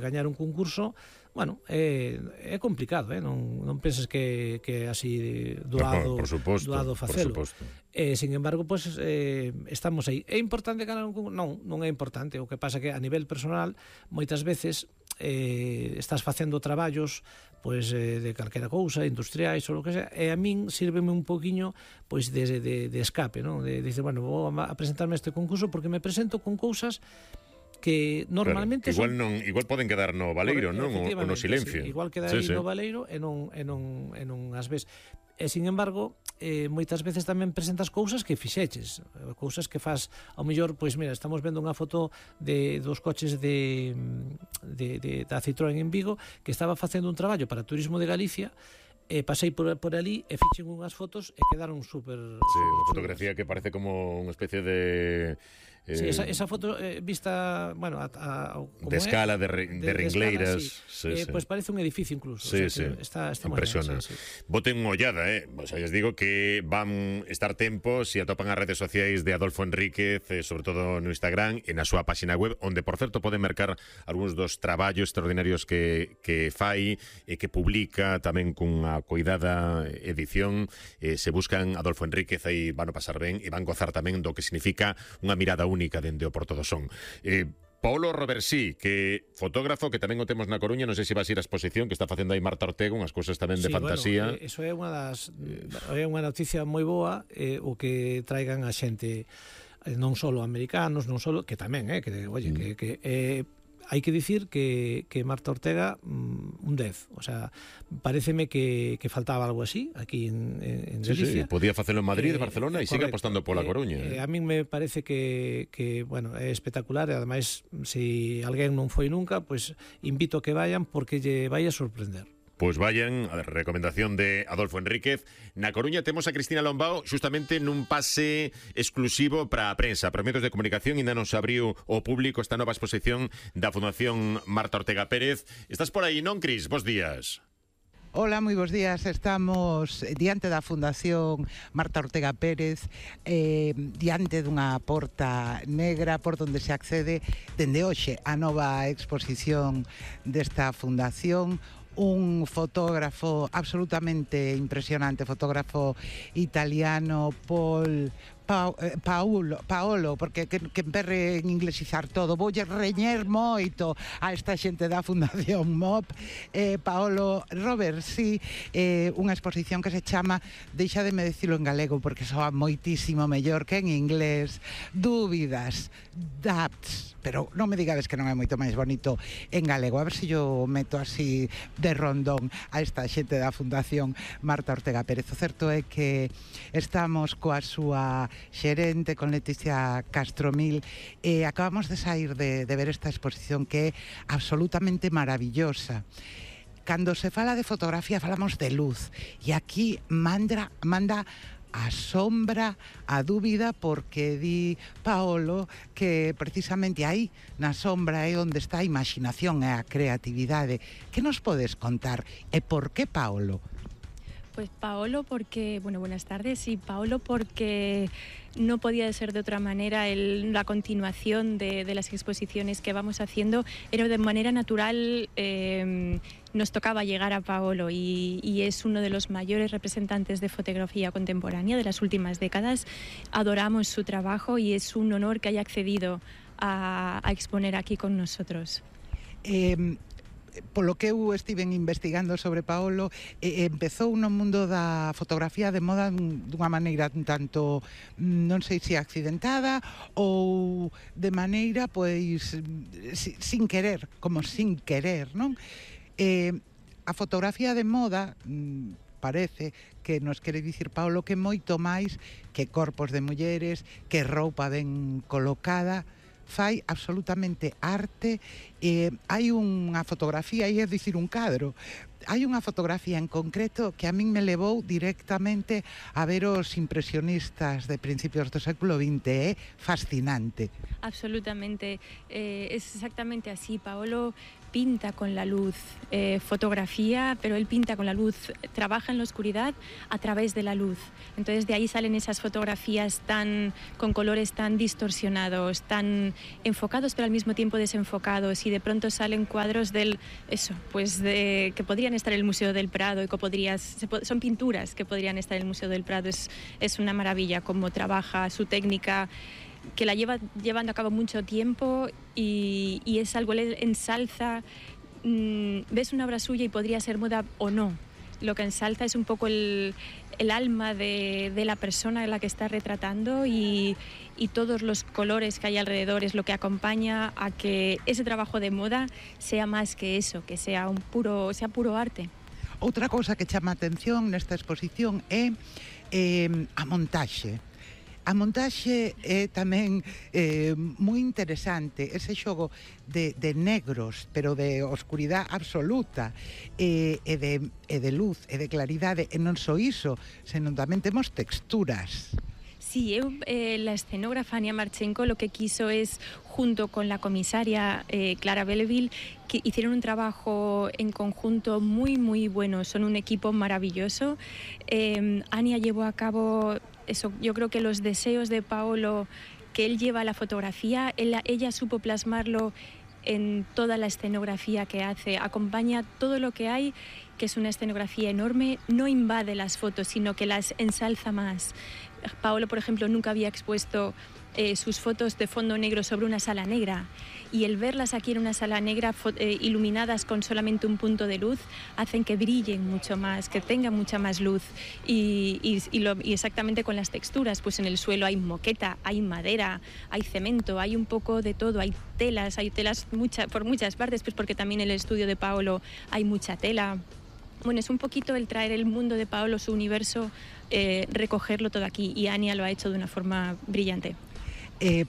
gañar un concurso, bueno, é complicado, non penses que é así doado facelo. Sin embargo, pues, estamos aí. É importante ganar un concurso? Non é importante. O que pasa que a nivel personal, moitas veces estás facendo traballos pois de calquera cousa, industriais ou o que sea, e a min sírveme un poquinho pois de escape, non? De dicer, bueno, vou a presentarme a este concurso porque me presento con cousas que normalmente claro, igual poden quedar no baleiro, non? Ou no silencio. Sí, igual queda aí no baleiro e non as ves. E, sin embargo, moitas veces tamén presentas cousas que fixeches, cousas que faz, ao mellor, pois mira, estamos vendo unha foto dos coches da Citroën en Vigo, que estaba facendo un traballo para Turismo de Galicia, pasei por ali e fixen unhas fotos e quedaron super... Sí, unha fotografía que parece como unha especie de... Sí, esa foto vista, bueno, de escala, de ringleiras, sí. Pues parece un edificio incluso. Sí, o sea, sí. Está impresiona. Sí. Boten unha ollada, O sea, les digo que van estar tempo se atopan as redes sociais de Adolfo Enríquez, sobre todo no Instagram e na súa página web, onde, por certo, poden mercar algúns dos traballos extraordinarios que fai e que publica tamén cunha coidada edición. Se buscan Adolfo Enríquez, aí van a pasar ben e van gozar tamén do que significa unha mirada única dende o Porto do Son. Paolo Roversí, que fotógrafo que tamén o temos na Coruña, non sei se vas a ir á exposición que está facendo aí Marta Ortega, unhas cousas tamén de fantasía. Bueno, eso é unha noticia moi boa, o que traigan a xente non só americanos, non só que tamén, hai que dicir que Marta Ortega un 10, o sea, pareceme que faltaba algo así aquí en Galicia. Sí, podía facelo en Madrid, Barcelona e sigue apostando pola Coruña. A min me parece que bueno, é espectacular e ademais, se alguén non foi nunca, pues invito a que vayan porque lle vai a sorprender. Pois vayan, a recomendación de Adolfo Enríquez. Na Coruña temos a Cristina Lombao justamente nun pase exclusivo para a prensa, para medios de comunicación. Ainda non se abriu ao público esta nova exposición da Fundación Marta Ortega Pérez. Estás por aí, non, Cris? Bos días. Hola, moi bons días. Estamos diante da Fundación Marta Ortega Pérez, diante dunha porta negra por onde se accede dende hoxe a nova exposición desta fundación. Un fotógrafo absolutamente impresionante, fotógrafo italiano, Paolo, porque que emperre en inglesizar todo, voulle reñer moito a esta xente da Fundación MOP. Paolo Roversí, unha exposición que se chama, deixademe dicilo en galego porque soa moitísimo mellor que en inglés, Dúbidas, Doubts, pero non me digades que non é moito máis bonito en galego. A ver se yo meto así de rondón a esta xente da Fundación Marta Ortega Pérez. O certo é que estamos coa súa xerente, con Leticia Castromil, e acabamos de sair de ver esta exposición que é absolutamente maravillosa. Cando se fala de fotografía falamos de luz, e aquí manda a sombra, a dúbida, porque di Paolo que precisamente aí na sombra é onde está a imaginación e a creatividade. Que nos podes contar? E por que Paolo? Pues Paolo porque, bueno, buenas tardes, y Paolo porque no podía ser de otra manera. La continuación de las exposiciones que vamos haciendo era de manera natural, nos tocaba llegar a Paolo y es uno de los mayores representantes de fotografía contemporánea de las últimas décadas. Adoramos su trabajo y es un honor que haya accedido a exponer aquí con nosotros. Polo que eu estiven investigando sobre Paolo, empezou no mundo da fotografía de moda dunha maneira un tanto, non sei se accidentada ou de maneira, pois, sin querer, como sin querer, non? A fotografía de moda parece que nos quere dicir Paolo que moito máis que corpos de mulleres, que roupa ben colocada, fai absolutamente arte. Hai unha fotografía, é dicir, un cadro hai unha fotografía en concreto que a min me levou directamente a ver os impresionistas de principios do século XX. É fascinante. Absolutamente, es exactamente así. Paolo pinta con la luz, fotografía, pero él pinta con la luz, trabaja en la oscuridad a través de la luz. Entonces de ahí salen esas fotografías con colores tan distorsionados, tan enfocados pero al mismo tiempo desenfocados, y de pronto salen cuadros que podrían estar en el Museo del Prado y que son pinturas que podrían estar en el Museo del Prado. Es una maravilla cómo trabaja, su técnica, que la lleva llevando a cabo mucho tiempo, y es algo, él ensalza, ves una obra suya y podría ser moda o no. Lo que ensalza es un poco el alma de la persona a la que está retratando, y todos los colores que hay alrededor es lo que acompaña a que ese trabajo de moda sea más que eso, que sea puro arte. Outra cousa que chama a atención nesta exposición é a montaxe. A montaxe é tamén moi interesante, ese xogo de negros, pero de oscuridade absoluta, e de luz, e de claridade, e non só iso, senón tamén temos texturas. Sí, la escenógrafa Ania Marchenko lo que quiso es, junto con la comisaria Clara Belleville, que hicieron un trabajo en conjunto muy, muy bueno. Son un equipo maravilloso. Ania llevó a cabo eso. Yo creo que los deseos de Paolo, que él lleva a la fotografía, ella supo plasmarlo en toda la escenografía que hace. Acompaña todo lo que hay, que es una escenografía enorme, no invade las fotos, sino que las ensalza más. Paolo, por ejemplo, nunca había expuesto sus fotos de fondo negro sobre una sala negra, y el verlas aquí en una sala negra iluminadas con solamente un punto de luz hacen que brillen mucho más, que tengan mucha más luz, y exactamente con las texturas, pues en el suelo hay moqueta, hay madera, hay cemento, hay un poco de todo, hay telas por muchas partes, pues porque también en el estudio de Paolo hay mucha tela. Bueno, es un poquito el traer el mundo de Paolo, su universo, recogerlo todo aquí, y Ania lo ha hecho de una forma brillante.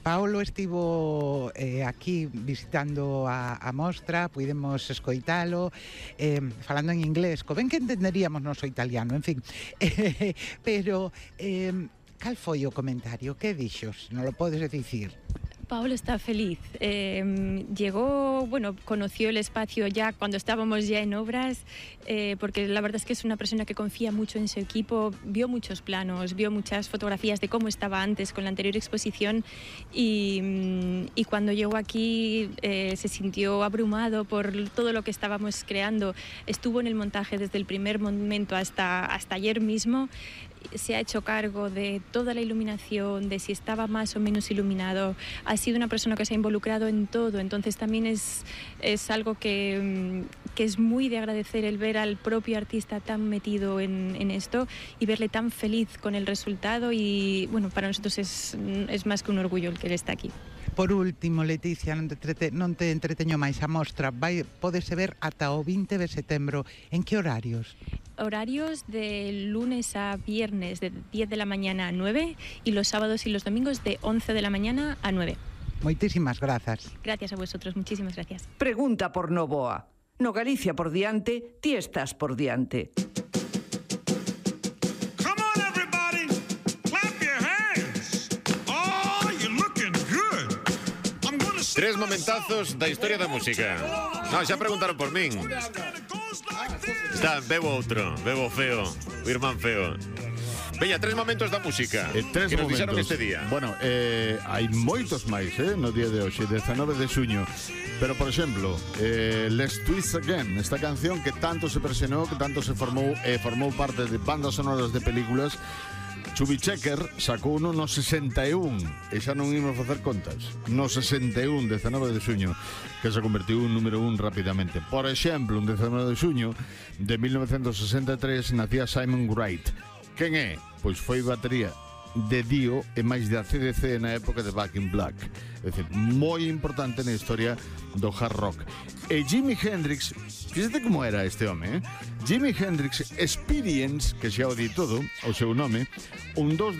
Paolo estivo aquí visitando a mostra, pudemos escoitalo, falando en inglés, co ben que entenderíamos noso italiano, en fin. Pero, cal foi o comentario? Que dixos? Non lo podes dicir? Paolo está feliz. Llegó, conoció el espacio ya cuando estábamos ya en obras, porque la verdad es que es una persona que confía mucho en su equipo, vio muchos planos, vio muchas fotografías de cómo estaba antes con la anterior exposición, y cuando llegó aquí se sintió abrumado por todo lo que estábamos creando. Estuvo en el montaje desde el primer momento hasta ayer mismo. Se ha hecho cargo de toda la iluminación, de si estaba más o menos iluminado. Ha sido una persona que se ha involucrado en todo, entonces también es algo que es muy de agradecer, el ver al propio artista tan metido en esto y verle tan feliz con el resultado, y bueno, para nosotros es más que un orgullo el que él está aquí. Por último, Leticia, non te entreteño máis, a mostra pódese ver ata o 20 de setembro. En que horarios? Horarios de lunes a viernes de 10 de la mañana a 9, y los sábados y los domingos de 11 de la mañana a 9. Moitísimas grazas. Gracias a vosotros, muchísimas gracias. Pregunta por Novoa. No Galicia por diante, ti estás por diante. Tres momentazos da historia da música. Non, xa preguntaron por min. Está, bebo feo, o irmán feo. Veña, tres momentos da música que nos dixeron este día. Bueno, hai moitos máis, no día de hoxe, 19 de xuño. Pero, por exemplo, Let's Twist Again, esta canción que tanto se presionou, que tanto se formou parte de bandas sonoras de películas. Chubby Checker sacou uno no 61, e xa non imos facer contas. No 61, 19 de xuño, que se convertiu en número 1 rapidamente. Por exemplo, un 19 de xuño de 1963 nacía Simon Wright. Quen é? Pois foi batería de Dio e máis de AC/DC na época de Back in Black. É dicir, moi importante na historia do hard rock. E Jimi Hendrix, fíxate como era este home, Jimi Hendrix Experience, que xa o di todo, o seu nome, un 19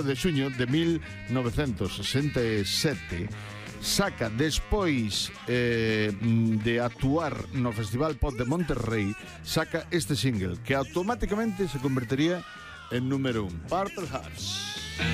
de xuño de 1967, saca despois de actuar no Festival Pop de Monterrey, saca este single que automáticamente se convertería en número 1, Purple Hearts.